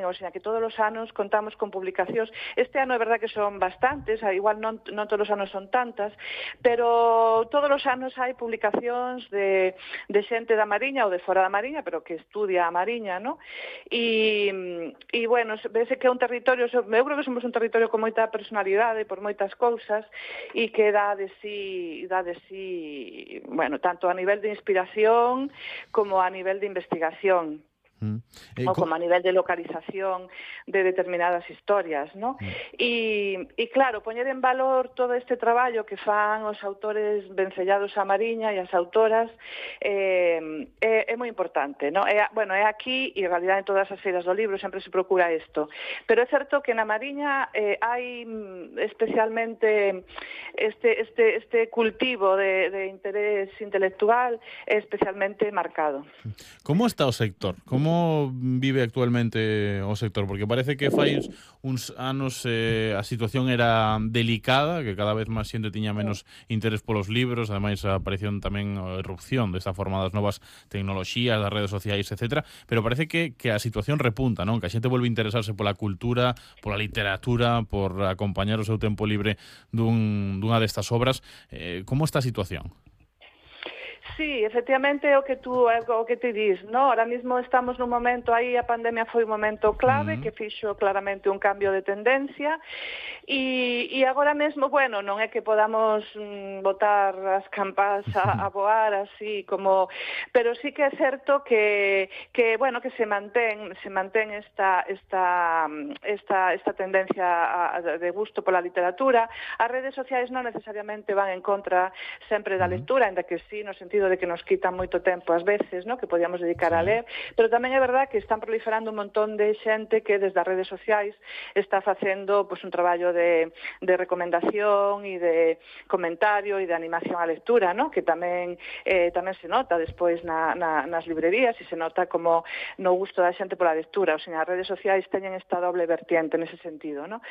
o sea, que todos os anos contamos con publicacións. Este ano é verdad que son bastantes, igual non todos os anos son tantas, pero todos os anos hai publicacións de xente da Mariña ou de fora da Mariña, pero que estudia a Mariña, ¿no? E bueno, vese que é un territorio, eu creo que somos un territorio con moita personalidade por moitas cousas e que dá de sí, bueno, tanto a nivel de inspiración como a nivel de investigación. O como a nivel de localización de determinadas historias, ¿no? E claro, poñer en valor todo este traballo que fan os autores vencellados a Mariña e as autoras é moi importante, ¿no? Bueno, é aquí, e en realidad en todas as feiras do libro sempre se procura isto, pero é certo que na Mariña hai especialmente este cultivo de interés intelectual é especialmente marcado. Como está o sector? Como vive actualmente o sector? Porque parece que fai uns anos a situación era delicada, que cada vez máis xente tiña menos interés polos libros, ademais a aparición tamén a erupción desta forma das novas tecnoloxías, das redes sociais, etc. Pero parece que a situación repunta, non? Que a xente volve a interesarse pola cultura, pola literatura, por acompañar o seu tempo libre dunha destas obras. Como está a situación? Sí, efectivamente é o que ti dis, ¿no? Ahora mismo estamos nun momento, aí a pandemia foi un momento clave que fixo claramente un cambio de tendencia e agora mesmo, bueno, non é que podamos botar as campás a voar así como, pero sí que é certo que bueno, que se mantén esta tendencia de gusto pola literatura. As redes sociais non necesariamente van en contra sempre da lectura, ainda que sí, no sentido de que nos quitan moito tempo ás veces, ¿no? Que podíamos dedicar a ler, pero tamén é verdad que están proliferando un montón de xente que desde as redes sociais está facendo un traballo de recomendación e de comentario e de animación á lectura, ¿no? Que tamén se nota despois nas librerías e se nota como no gusto da xente pola lectura, o sea, as redes sociais teñen esta doble vertiente nese sentido, ¿no?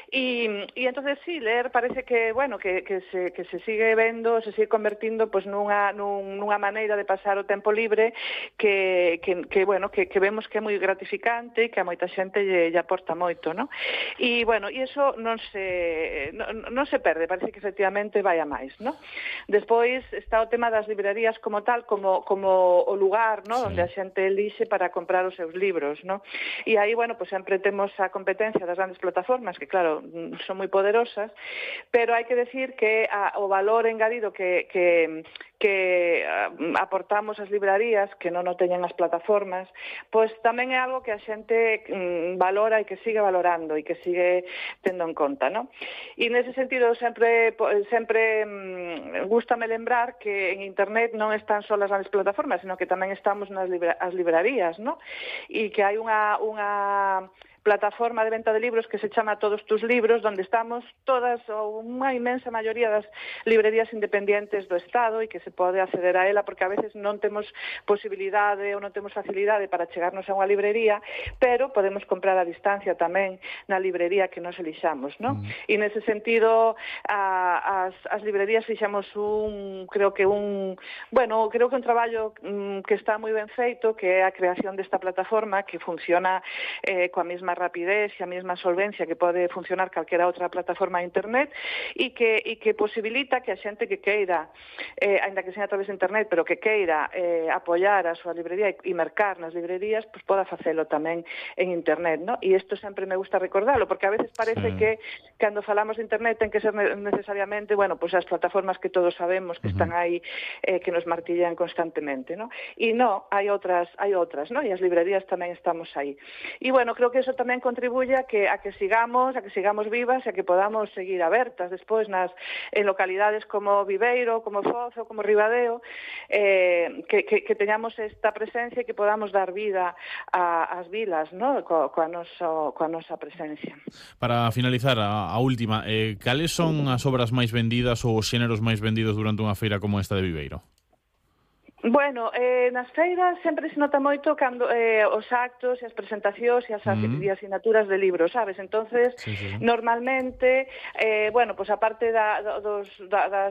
E entonces sí, ler parece que, bueno, que se sigue vendo, se sigue convertindo nunha maneira de pasar o tempo libre que vemos que é moi gratificante e que a moita xente lle aporta moito, ¿no? E, bueno, e iso non se perde, parece que efectivamente vai a máis, ¿no? Despois está o tema das librerías como tal, como o lugar, ¿no? Onde a xente elixe para comprar os seus libros, ¿no? E aí, bueno, pues sempre temos a competencia das grandes plataformas, que claro, son moi poderosas, pero hai que decir que o valor engadido que aportamos as librarías, que non o teñen as plataformas, pois tamén é algo que a xente valora e que sigue valorando e que sigue tendo en conta, ¿no? E nese sentido sempre gústame lembrar que en internet non están só as grandes plataformas, sino que tamén estamos nas librarías, ¿no? E que hai unha plataforma de venta de libros que se chama Todos tus libros, donde estamos todas, ou unha inmensa maioría das librerías independientes do Estado e que se pode acceder a ela, porque a veces non temos posibilidade ou non temos facilidade para chegarnos a unha librería, pero podemos comprar a distancia tamén na librería que nos elixamos, ¿no? E nese sentido, as librerías fixamos creo que un traballo que está moi ben feito, que é a creación desta plataforma que funciona coa mesma rapidez e a mesma solvencia que pode funcionar calquera outra plataforma de internet e que posibilita que a xente que queira, ainda que sea a través de internet, pero que queira apoiar a súa librería e mercar nas librerías, pues poda facelo tamén en internet, ¿no? E isto sempre me gusta recordarlo, porque a veces parece que cando falamos de internet ten que ser necesariamente, bueno, pues as plataformas que todos sabemos que están aí, que nos martillan constantemente, ¿no? E non, hai outras, ¿no? E as librerías tamén estamos aí. E bueno, creo que eso tamén contribuye a que sigamos vivas e a que podamos seguir abertas despois en localidades como Viveiro, como Foz ou como Ribadeo, que teñamos esta presencia e que podamos dar vida ás vilas, ¿no? coa nosa presencia. Para finalizar, a última, cales son as obras máis vendidas ou os xéneros máis vendidos durante unha feira como esta de Viveiro? Bueno, nas feiras sempre se nota moito cando os actos e as presentacións e as asinaturas de libros, sabes? Entonces, Sí, sí, sí. normalmente, bueno, pues aparte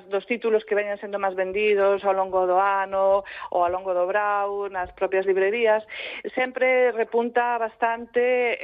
dos títulos que veñen sendo máis vendidos ao longo do ano ou ao longo do brau, nas propias librerías, sempre repunta bastante